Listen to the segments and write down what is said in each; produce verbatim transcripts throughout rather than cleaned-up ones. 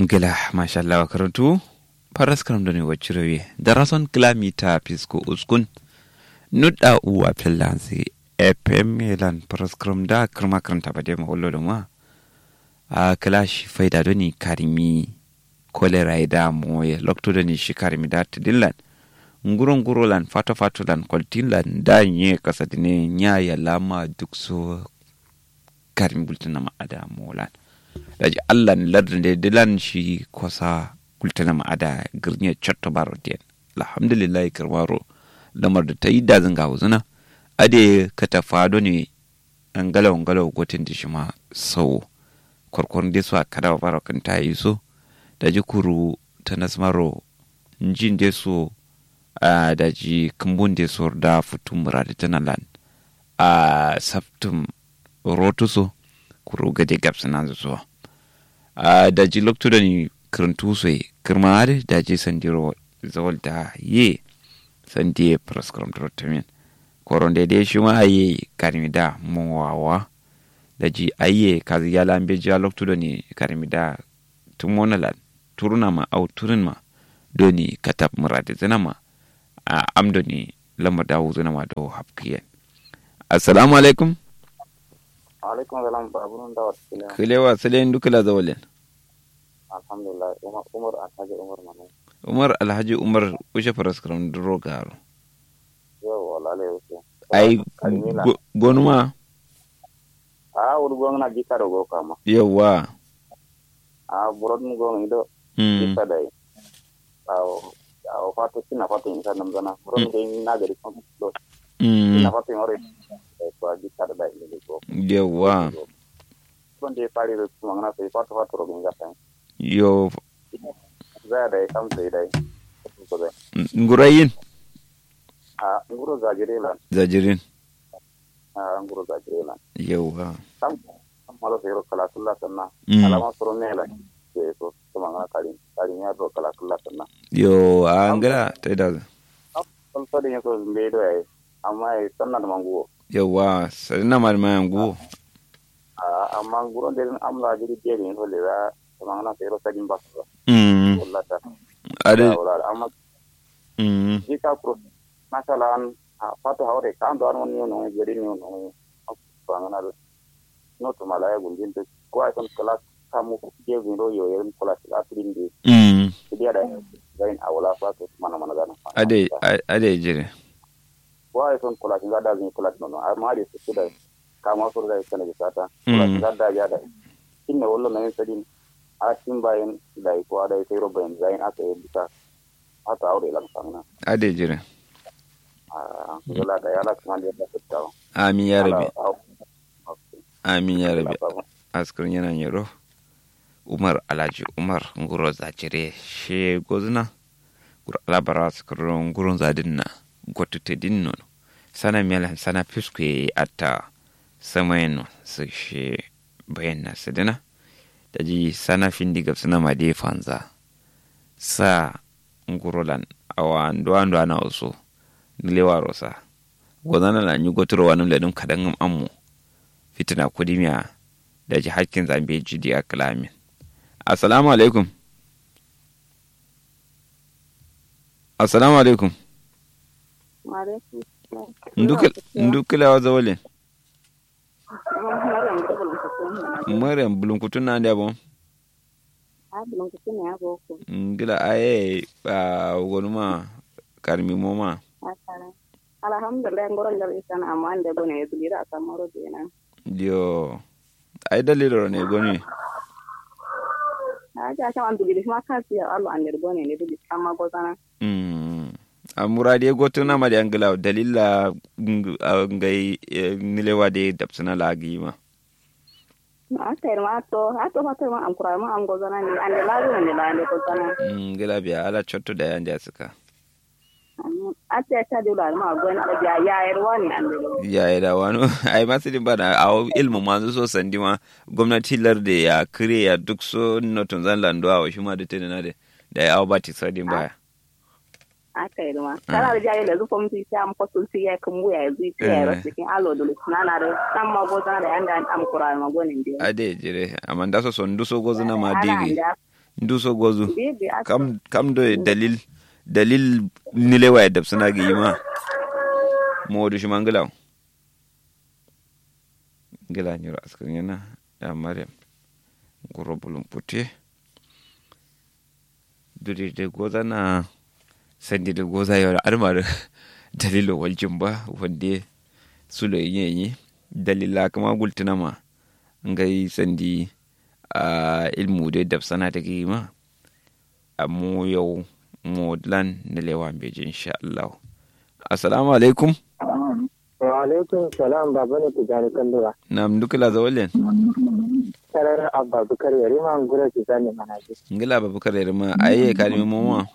Ngla mashallah wa karantu. Faras karam done wacciro ye darason klamita fisko uskun. Nudda uwa fellansi fm lan faras karam da kirma karanta bade ma wallo doma. A kla shi faida doni karimi. Kolera ye da moye lokto doni shi karimi da tidillan. Nguro nguro lan fato fato lan kwaltin lan da nye kasadine nya yalama duk so. Karin gultǝnama ada molan. Daji allan lardǝ nde dǝlan shi kosa gultǝnama ada gǝrnye cotto baro diyen. Alhamdulillahi kǝrmaro lamar dǝ tayi dazǝ ngawuzǝna. Ade katafa done ngalawo ngalawo gotin dǝ shima sawo. Korkor nde so akadawo baro kǝnta yiso. Daji kuru tanas maro nji nde so. A daji kǝmbun de sor da futum muradǝ tǝna lan. A saftum rotu so kuru gade gabsǝnanzǝ so. A daji loktu doni kǝrǝntu so ye kǝrma adǝ daji sandiro zawal da ye. Sandi ye faraskaram duro tamin koron de de shima ye karmi da mowawa. Daji ayye kazi yala mbeji a loktu doni karmi da. Tumonalan turunama au turunma doni katab muradizǝnama. A am doni lamar da wuzǝnama do hapkiyen. Assalamu alaikum. Alaikum salam babunun da wata kile. Kilewa sile ndu kila zawalen. Alhamdulillah umar umar alhaji umar manu. Umar alhaji umar ushe faraskaram duro garo. Yau walale ushe. Ai gonuma. A wuri gongna jikka do go kama. Yawwa. A burodun gongna ido. Jikka dai. Awo awo fato sina fato insa namzana burodun gongna gari kam do. Sina fato in ore. Ko jikka do dai. Yawwa. Kon de fari do kuma ngana sai fato fato ro ginga sai. Yo. Za dai kam sai dai. Ngurayin. A nguro zajirin lan. Zajirin. A nguro zajirin lan. Yauwa. Kam kam maro sai ro kala kulla sanna. Alama suro ne lan. Sai so kuma ngana karin karin ya ro kala kulla sanna. Yo a ngala tai da. Kam kam so da yin so mbe do ai. Amma ai sanna da manguwo. Yauwa sanna ma da manguwo. A amma nguro de amla jiri de yin so le da kuma ngana sai ro sadin ba. Wallahi ta. Ade. Amma. Jika kuro masalan. Fato haure kando an wani yono gari ne wono. Bangana do. Noto malaya gundin do. Kwa son kala kamu je gundin do yo yerin kula sila tirin de. Kidiya da. Zain awala fato mana mana gana. Ade ade jire. Kwa son kula sila da zin kula nono amma de su da. Kama sur da kana bisata. Kula sila da ya da. Kinne wallo na yin sadin. A tin bayin da ko da sai ro bayin zain aka yi bisa. Hata aure lan sangna. Ade jire. Ngala da yala kuma da ta tawo. Amin ya rabbi. Amin ya rabbi. Askar yana nyero. Umar alhaji umar nguro zajire she gozna. Nguro alabara askar nguro zadinna. Gotu te dinno. Sana melan sana fisku ye atta. Samayen no su she bayan na sadina. Daji sana findi gabsana ma de fanza. Sa ngurolan awa nduwa nduwa na uso. Nilewaro sa gozana la nyugo turo wanum ledum kadangum ammo. Fitina kudimiya. Daji hakkin zambe jidi a kalamin. Assalamu alaikum. Assalamu alaikum. Ndu kilewa zawalin. Maryam bulum kutun na ndia bon. Ngila aye. Wonuma karmi moma. Alhamdulillah ngoro ngar isan amma ande bone dulira kamoro dena. Yo. Ai daliloro ne goni. Aja kama dulira ma kasi ya allo ande bone ne dulira amma gozana. Amuradi gotuna ma de angla dalilla. Ngai nilewa de dabsana lagi ma. Akai ma to ato fato ma am kura ma am gozana ni ande lagu ne la ande gozana. Ngila biya ala chotto da yande asuka. Ate ata de la ma gwen da biya ya erwa ni ande. Ya era wano. Ai masidin bana awo ilmu manzu so sandima. Gomnati larde ya kire ya duk so notun zan lando awo shima de tenena de. Da ya awo bati sadin baya. Aka yi duma kala da jayi da zufo mutu isi am kosul ti ya kumbu ya zu isi ya ro sikin alo dulu nana da samma gozana da yanda am kura ma gonin de. Ade jire amma nda so so ndu so gozana ma digi. Ndu so gozu. Kam kam do ye dalil dalil. Nilewa ye dabsǝna gǝyi ma. Modu shima ngǝlawo. Ngǝla nyiro askǝr nyena. Ya maryam. Nguro bulum putte. Duri dǝ gozana. Sandi dǝ goza yoro adǝma dǝ. Dalilo waljin ba wande. Sulo yenyi dalila kǝma gultǝna ma. Ngai sandi. Ahh ilmu dǝ dabsana dǝ gǝyi ma. Ammo yau modǝlan nǝlewa mbeji insha allahu. Assalamu alaikum. Wa alaikum salam baba ne tijani kandura. Nam ndu kǝla zawallen. Sarar abba bukar yarima ngura tijani manaji. Ngǝla abba bukar yarima aye kadǝmi momo wa.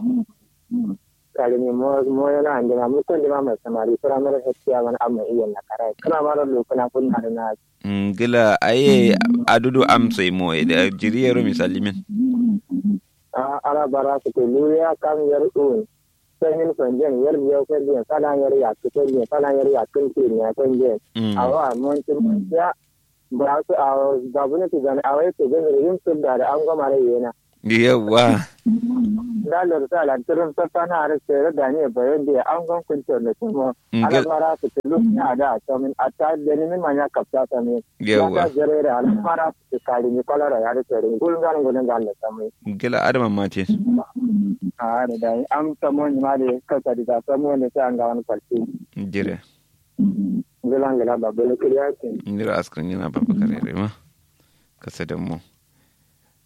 Kadǝmi moyo na andima mukon dima mai samari firamare hettiya mana amma iyan na karai kǝna maro lukuna kunna dǝ na. Ngǝla aye. Adudu amsoi moye da jiri yero misallimin. Ahh ala bara sǝkǝ luya kam yar un. Sanyin fanjen yar biyau fanjen salan yar yakkǝ fanjen salan yar yakkǝn kǝn ya fanjen. Awa montin montiya. Ba su awo babune tijani awo ye tijani rim sudda da ango mare yena. Yawwa. Nda lorsa lan tǝrǝm sassana adǝ sero daniye bayon diye angon kunto ne tumo. Ala bara sǝkǝ luya da a samin atta dani min manya kapta samin. Yawwa. Atta jerere ala bara sǝkǝ kari ni koloro ya adǝ sero ngul ngan ngul ngan ne samin. Ngila adǝ mamma te. Ahh adǝ dai am samo ni ma de kasa dida samo ne sai an gawan kwalti. Jire. Ngila ngila babale kǝliya kin. Nyiro askǝr nyina babakar yarima. Kasa dammo.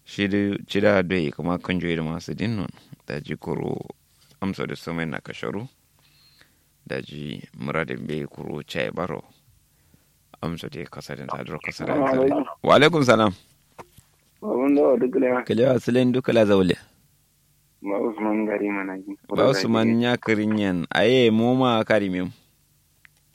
Shi dǝ cida doi kǝma kanjo ye dǝ ma sǝdin non. Daji kuru amso dǝ sǝmai na kasharu. Daji mǝradin mbeyi kuru caye baro. Amso dǝ ye kasa dǝn saduro kasa dǝn saduro. Wa alaikum salam. Babun do duk lewa. Kǝlewa sǝlen duk kǝla zaule. Ba usman gari mana ji. Ba usman nya kǝrin yen aye moma kari mem.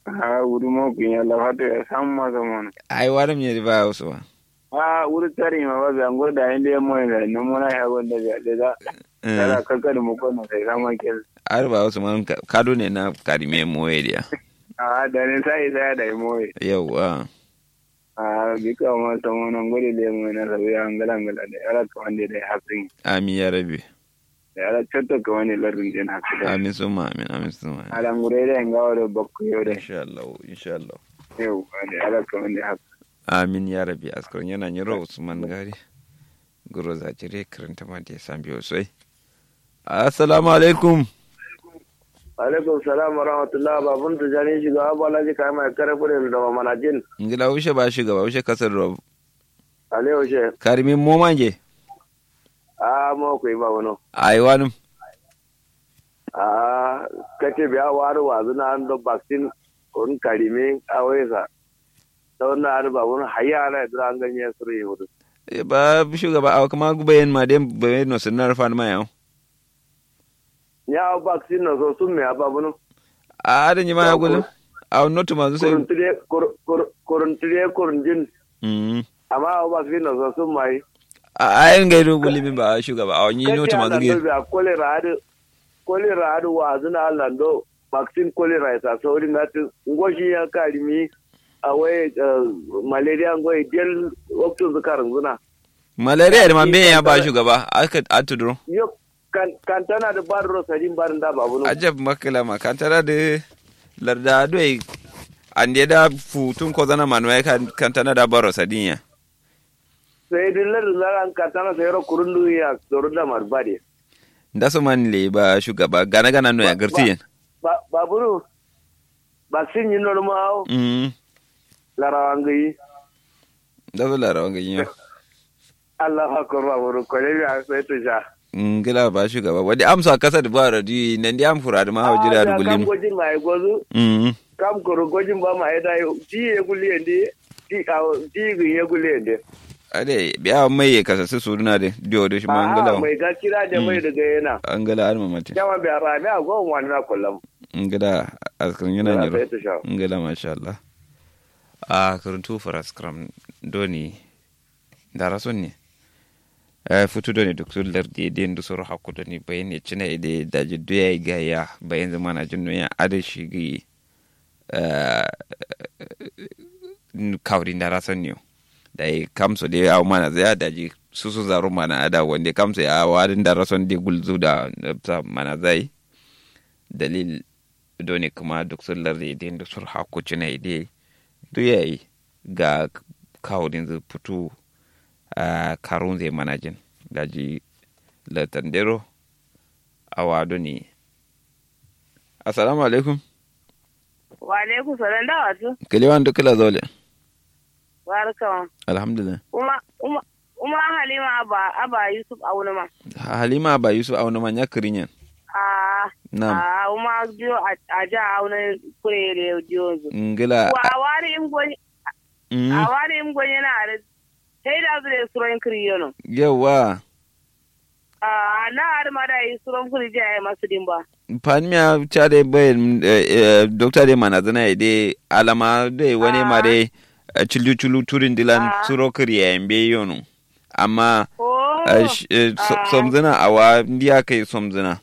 Ahh wuri mo kunya lafato ya samma samma na. Ai waram nye ba usman. Ahh wuri tari ma ba biya ngo da inde mo inde no mona ya gonda biya de da. Tara kakka da muko na sai samma kel. Ar ba usman kado ne na kari mem moye diya. Ahh da ne sai sai da moye. Yawwa. Ahh bika ma samma na ngode de mo na sabi angala angala de ala kawande de hasin. Amin ya rabbi. Ala cotto kǝmani lardǝn den hakkǝ da. Amin summa amin amin summa amin. Ala ngure da ngawo do bakko yo da. Inshallah inshallah. Yau da ala kǝmani hakkǝ. Amin ya rabbi askar yana nyiro usman gari. Guro za cire kǝranta ma de sambiyo soi. Assalamu alaikum. Alaikum salam wa rahmatullah babun tijani shugaba balaji kayima kare fure da manajin. Ngila wushe ba shugaba wushe kasar ro. Alewo she. Karimin momange. Ahh mo koi ba wono. Aiwa nǝm. Ahh kate biya wari wazǝna ando vaccine. Kurun karimi awai sa. Tawanna adǝ ba wono hayya ala ye dura anganye suru ye wudu. Ba shugaba awo kǝma bayen ma den bayen no sǝnnar fanma yawo. Nya awo vaccine no so summe abba bunum. Ahh adǝ nyima ya gulum. Awo notuma zu sai. Kurun tǝde kurun tǝde kurun jin. Amma awo vaccine no so summa yi. Ahh ayin ngai du gulimin ba shugaba awo nyi notuma zu ngai. Kolera adǝ. Kolera adǝ wazǝna lando. Vaccine kolera ye sa sauri ngatǝ. Ngo shi ya karimi. Awai. Malaria ngo ye del. Waktun zu karǝnzǝna. Malaria ye dǝ ma mbeyen ya ba shugaba. Aka atuduro. Kantana dǝ barro sadin barin da babuno. Ajab makǝlama kantana dǝ. Larda doi. Ande da futun kozana manuwa ye kantana da barro sadin ya. Sai dǝ larda zaran kantana sai ro kurun dǝ ya. Sorun da marbade. Nda so man le ba shugaba gana gana no ya garti yen. Babunu. Vaccine nyi nonuma awo. Larawa ngai. Nda so larawa ngai yo. Allahu akbar ba boro kole biya sai to sha. Ngla ba shugaba wadi amsa kasa da ba radio nandi am fura da ma hawa jira da gullin. Kam gojin ma ya gozu. Kam koro gojin ba ma ya dayo ti ya gulli yande. Ti awo ti gin ya gulli yande. Ade biya mai ya kasa su suduna de dio de shi ma ngla. Mai ga kira da mai daga yana. Ngla har mamati. Yawa biya rami a go wani na kullam. Ngla askar yana nyiro. Ngla masha Allah. A karuntu faraskram doni. Ndara sonne. Futu done duktu lardi ye de ndu soro hakku done bayin ye cina ye de daji duya ye gaya bayin zǝ manajin no ya adǝ shi gǝyi. Kawuri ndara sonne yo. Dayi kamso de awo manazǝ ya daji. susu zaru mana ada wande kamso ya awa din da rason de gulzu da nafsa mana zai dalil done kuma duk sun larde de duk sur hakku cina de duyayi ga kawudin zu futu a karun zai manajin daji latandero awa done. Assalamu alaikum. Wa alaikum salam da wato kalewan duk kala zaule. Barka ma. Alhamdulillah. Uma uma uma halima aba aba yusuf aunuma. Halima aba yusuf aunuma nya kirinyen. Ah. Nam. Ah uma dio aja auna kure re dio zu ngila. Wa wari im gonye. Mm. A wari im gonye na are. Hei da zu de suron kiri yono. Yawa. Ah na are ma da yi suron kiri ja ya masu dimba. Panmiya ca de bai dokta de mana zana ya de alama de wani ma de cilju culu turin dilan suro kiri ya yambe yono. Amma somzina awa ndiya kai somzina.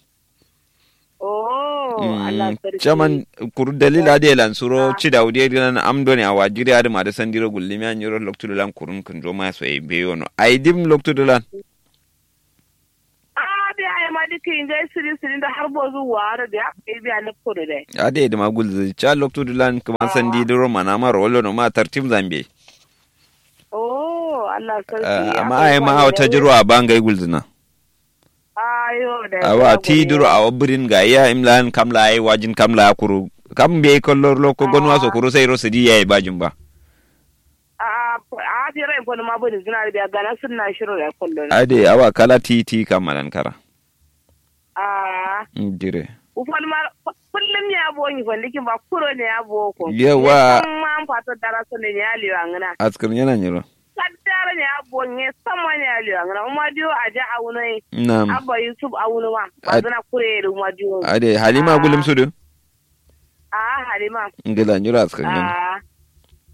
Oh Allah sarki. Caman kuru dalil ade lan suro ci da wude dilan am doni awa jiri ade ma de sandiro gullimi an yiro loktu dilan kurun kun zo ma so e be yono ai dim loktu dilan. Ah bi ai ma diki ngai siri siri da har bozu waro da ai bi an ko de. Ade de ma gulzi ca loktu dilan kuma sandi diro mana ma rolo no ma tartim zambe. Oh Allah sarki. Amma ai ma awa tajirwa ba ngai gulzina. Awa ti duro awa birin ga iya imlan kamla ai wajin kamla kuru kam be kollo loko gonwa so kuru sai ro sidi yayi bajin ba. A a fira in fani ma bani zina da gana sunna shiro da kollo. Ade awa kala ti ti kamalan kara. A dire. Ufan ma kullum ne abo ni fandi kin ba kuro ne abo ko. Yawa. Ma an fato dara so ne ya liwa ngana. Askar yana nyiro. Kaddara ne abo ne sama ne ya liwa ngana uma dio aja aunoi. Nam. Abba yusuf auno ma bazana kure da uma dio. Ade halima gulum sudu. A halima. Ngila nyiro askar yana.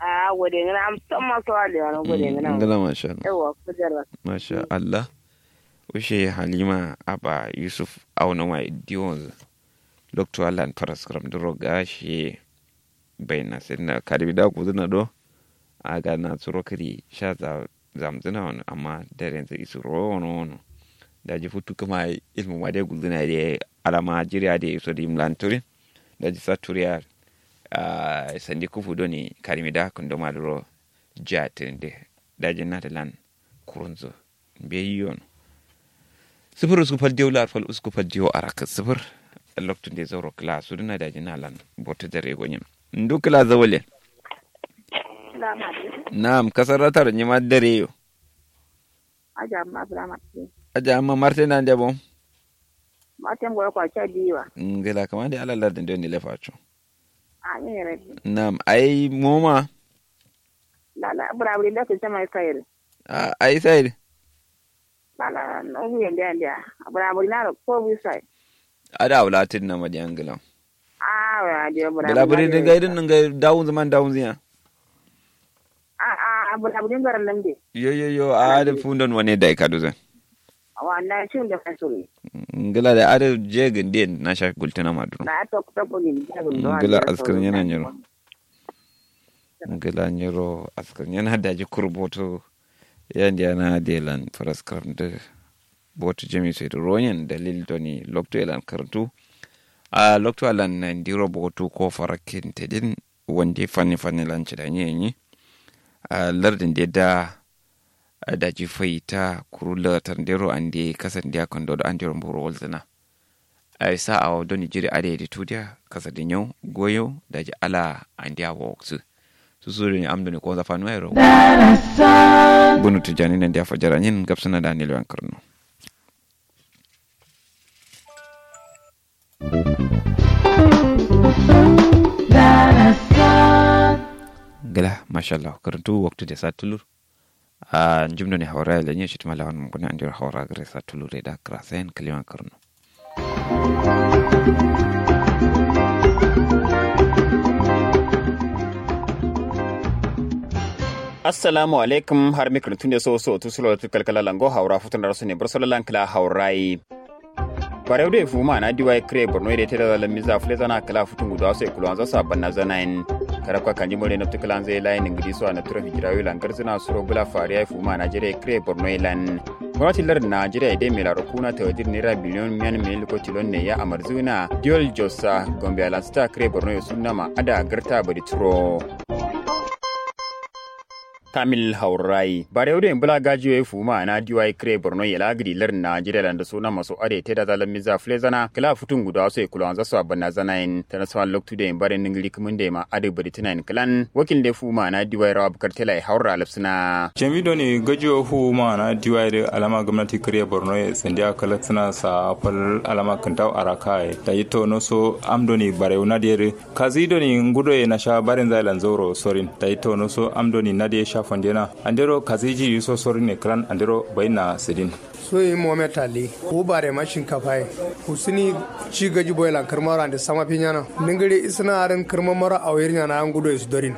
A gode ngana am sama so aliwa no gode ngana. Ngila masha Allah. Yawa kujarra. Masha Allah. Ushe halima aba yusuf auna ma diwon loktu allan faras kram duro ga shi. Bai na sai na kadi da ku zuna do a ga na tsuro kiri sha za zamzuna wani amma daren zai isu ro wani wani. Da ji futu kuma ilmu ma dai gulzuna dai alama jiriya dai iso da imlan turin da ji sa turiya. A sandi kufu doni karimi da kundo ma duro jiya tirin dai da ji na da lan kurunzu. Mbeyi yono sifir usku fal diyo lar fal usku fal diyo arak sifir. Loktu nde zauro kla suduna daji nalan botu dare gonyen. Ndu kla zawale. Na'am kasar ratar nyima dare yo. Aja amma bla marte. Aja amma marte na nde bom. Marte ngoro kwa cha diwa. Ngela kamande ala lar de nde lefa cho. Amin rabbi. Na'am ai moma. Lala bra bri nda ke chama kai. Ai said. Bala no hu yende andia. Bala bala na ko bu sai. Ada wala tin na madi angla. Ah wa dia bala bala bala din ga din ga dawun zaman dawun ziya. Ah ah bala bala ngaran nan de. Yo yo yo a da fundon wane da ka duzan. Wa na cin da fasuri. Ngila da ada je ginde na sha gultuna maduro. Na tok tok ni. Ngila askar yana nyiro. Ngila nyiro askar yana daji kurboto. Yandi yana delan faraskar da boto jami sai da royen dalil doni lokto elan karantu. A lokto alan nan diro boto ko farakin tedin wande fanni fanni lan ci da nyenyi. A lardin de da daji faita kuru latar dero ande kasan dia kando da andero mburo walzana. Ai sa awo doni jiri ade di tudiya kasa di nyau goyo daji ala andiya woksu. Susu doni am doni konza fanu ai ro. Bunu tijani nan dia fajara nyin gapsana da nilwan karno. Gala mashallah karantu waktu de sa tulur. A njim doni haura lenye shi tuma lawan mun kuna andiro haura gare sa tulur da krasen kaliwan karno. Assalamu alaikum har mikrin tunde so so tu sulo tu kalkala lango haura futun rasu ne bursala lankla haurai. Barew de fuma na diwai kre borno de tera la miza fule zana kala futun gudu aso ikulo anzo sa banna zana en. Karabka kanji mure nabtu kǝlanzǝ ye layin ngǝdi so a nabturo fijirawi lan garzǝna suro bǝla fariya ye fuma najeriya ye kǝre borno ye lan. Gomnati lardǝ najeriya ye dai melaro kuna tawadir naira biliyon miyan miliyon luko tilon ne ya amarzǝna diol jossa gombe alansǝta kǝre borno ye sunnama ada garta badi turo. Kamil haurai barewu doi bǝla gajiyo ye fuma na diwai kǝre borno ye la gǝdi lardǝ najeriya landa suna maso ade teda zalan miza flezana kǝla futun gudawa so ye kulawanza so abanna zanayin tana sawan loktu doi bare ningiri kǝmin doi ma ade badi tunayin kǝlan wakil doi fuma na diwai rawa bukar tela ye haura lafsina. Jami doni gajiyo fuma na diwai doi alama gomnati kǝre borno ye sandiya kalaksina sa fal alama kǝntau araka ye daji tono so am doni barewu na doi doi kazi doni ngudo ye nasha barin zai lan zauro sorin daji tono so am doni na doi sha fandena andero kazi ji so sorin ne klan andero baina sidin. Soyi mohammed ali wu bare ma shinkafa ye kusuni ci gaji boye lan kǝrma ro ande sama finyana ningiri isina arin kǝrma maro awir nyana ngudo ye su dorin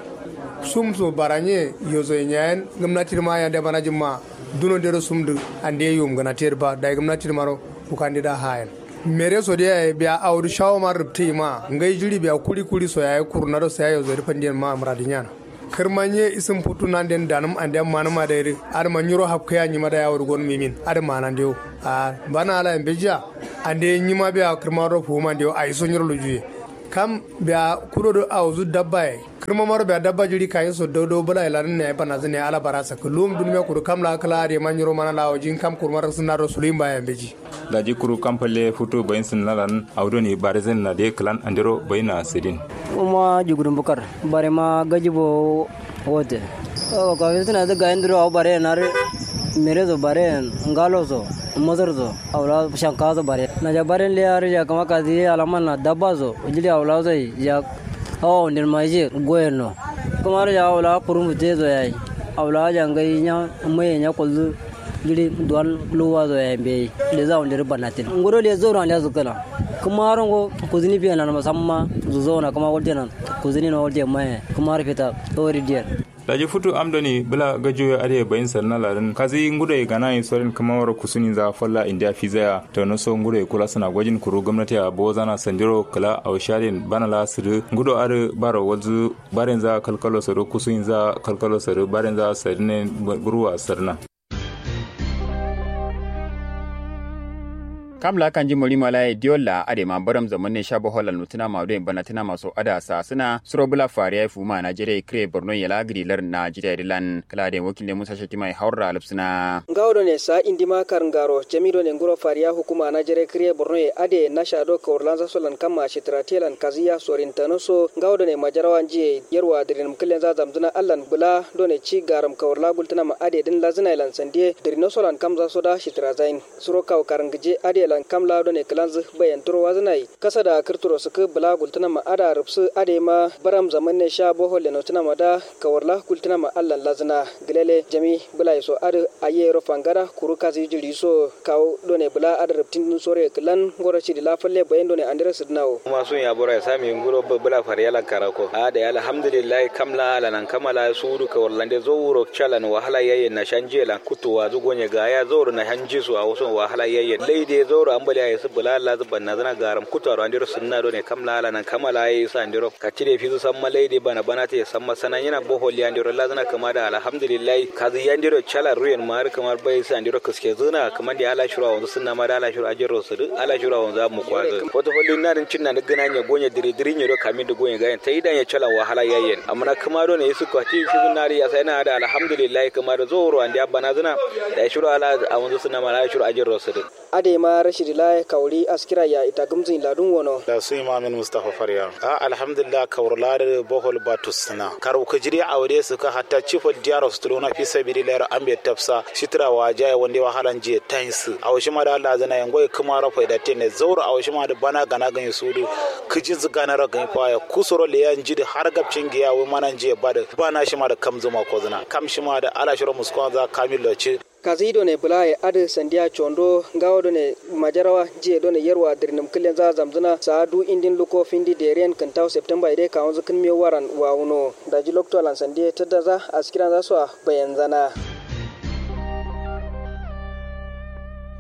sum so baranye yozo ye nyayen gomnati ma yande bana jimma duno dero sum du ande yum gana ter ba dai gomnati maro kukandi da hayen mere so de yayi biya awdu shawo ma rubti ma ngai jiri biya kuri kuri so yayi kurna do sai yozo de fandin ma muradi nyana kǝrma nye isin futu nanden danǝm ande manǝma dai dǝ adǝma nyiro hapkǝya nyima dai awudu gonǝm yimin adǝma nande wo a bana ala yambe jiya ande nyima biya kǝrma do fuwuma nde wo ayi so nyiro lujuye kam biya kudo do awuzu dabba ye kǝrma maro biya dabba jiri kayi so dau dau bǝla ye lanǝm ne yayi banazǝ ne ala bara sakkǝ luwum dunmiya kuru kam la kǝla adǝ ye ma nyiro mana la waji kam kurma raksǝna do suluyin ba yambe ji. Daji kuru kam falle futu bayin sinna lan awo doni bare sinna de klan andero bayina sidin. Umma jugudun bukar bare ma gaji bo wote. Awo kafi suna da gayin duro awo bare na re mere so bare ngalo so masar so awla shanka so bare na ja bare le har ja kama kazi alaman na dabba so jili awla so ya awo ndin ma je goyen no. Kuma har ja awla kurum te so yayi awla ja ngai nya mai nya kullu. Jiri duwan luwa zo yayi mbeyi leza wunde ri banatin ngudo le zauro ande zukuna. Kuma rongo kuzini biya nan musamma zuzo na kuma walde nan kuzini na walde maye kuma har fita tsori diyar. Daji futu am doni bula gajiyo adai bayin sarna ladin kazi ngudo ye gana ye sorin kuma waro kusuni za falla indiya fizaya. Tauno so ngudo ye kula suna gwajin kuru gomnati a bozana sandiro kula ausharin bana la siri ngudo adai baro walzu. Barenza kalkalo sari kusuinza kalkalo sari barenza sari ne. Buruwa sarna. Kam la kanji mori malaye diyolla adema baram zaman ne sha boholla nutuna ma doyin banatina maso ada sasuna suro bula fariya fu ma najeriya kre borno yela gidi lar najeriya dilan kala de wakil ne musa shatima ya haura lupsuna. Ngawo done sa indima karngaro jami done nguro fariya hukuma najeriya kre borno ye ade nasha do kawurlanza solan kamma shitira telan kaziya sorin tanoso ngawo done majarawa njiye yarwa dirinum kǝlenza zamzǝna allan bǝla done ci garam kawurla gultǝnama adedǝn lazǝnailan sandiye dǝrinosolan kamzasoda shitǝrazain. Suro kawu karǝngǝje adelan kamla done kǝlanzǝ bayan turo wazǝnai kasada kǝrturo sǝkǝ bǝla gultǝnama ada rǝpsǝ adema baram zamanne sha boholle notǝnamada kawurla gultǝnama allan lazǝna. Gǝlele jami bǝlaiso adǝ ayyero fangada kuru kazi jiriso kawu done bǝla adǝ rǝptindǝn soroye kǝlan ngoro cidi la falle bayan done andero sǝdǝnawo. Kuma sun ya boro ya sami nguro bǝla fariyalan karako a dai alhamdulillahi kam la ala nan kamala sudu ka wallande zauro calan wahala yayyen na shanjiye lan kuttu wazu gonye gaya zauro na shanji su a wuson wahala yayyen laide zauro ambali ayi su bula lazu banna zana garam kuttu aro andero sunna done kam la ala nan kamala ayi su andero kacci de fizu samma laide bana bana te samma sananyina bohol ya andero lazana kama da alhamdulillahi kazu ya andero calan ruyen ma har kamar bai su andero kaske zuna kamar da ala shiro a wanzu sunna ma da ala shiro ajero su du ala shiro a wanzu amu kwazu foto follin na din cinna duk gina nye gonye diri diri nye do kamin da gonye gayen tai da nye calan wahala yayyen amma na kuma do ne isu kwati shi zun nari ya sai na da alhamdulillah kuma da zoro andi abba na zuna da shiro ala a wanzu suna mala shiro ajin rosudin. Adai ma rashidi la kawuri askira ya ita gumzin ladun wono. Da su imamin mustafa farya a alhamdulillah kawur la da bohol batus suna karu kujiri a wade su ka hatta cifal diyaro su tulona fi sabili la yaro ambe tafsa shitira wa jaya wande wahala njiye tainsu awo shima da lazana yango ye kuma ro faida tene zauro awo shima da bana gana ganyi sudu. Kǝjinzǝ ganaro ganyi faya kusuro leya njidǝ har gabcin giya wai mana njiye badǝ bana shima da kamzǝ ma kozǝna kam shima da ala shiro muskonza kamillo ci. Kazi done bulaye adǝ sandiya condo ngawo done majarawa njiye done yarwa dǝrinǝm kǝllenza zamzǝna saa du indin luko findi deriyen kǝntaw septemba ye dai kawunzǝ kǝnmiyo waran wawuno. Daji loktolan sandiye tǝddaza askiranza soa bayanzana.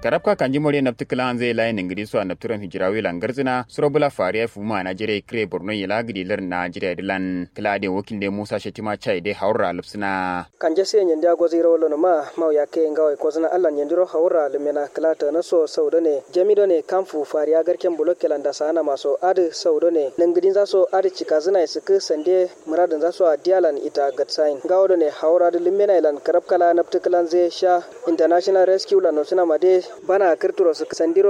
Karabka kanji moriye nabtǝ kǝlanzǝ ye layi nǝngǝdi so a nabtǝ rom hijirawi lan garzǝna suro bǝla fariya fuma najeriya ye kǝre borno ye la gǝdi lar najeriya dǝ lan kǝla adǝ ye wakil nde musa shetima chai dai hawurra lǝpsǝna. Kanje siye nyandi agozǝ yiro wallono ma mau yakke ngawo ye kozǝna allan nyandiro hawurra lǝmmena kǝla tana so sau done jami done kamfu fariya garken bulokke lan dasa anama so adǝ sau done nǝngǝdinza so adǝ cikazǝna ye sǝkkǝ sande muradǝnza so addiya lan ita gatsayin ngawo done hawurra dǝ lǝmmena ye lan karabka la nabtǝ kǝlanzǝ ye sha international rescue lan notǝnama dai bana kǝrturo sǝkkǝ sandiro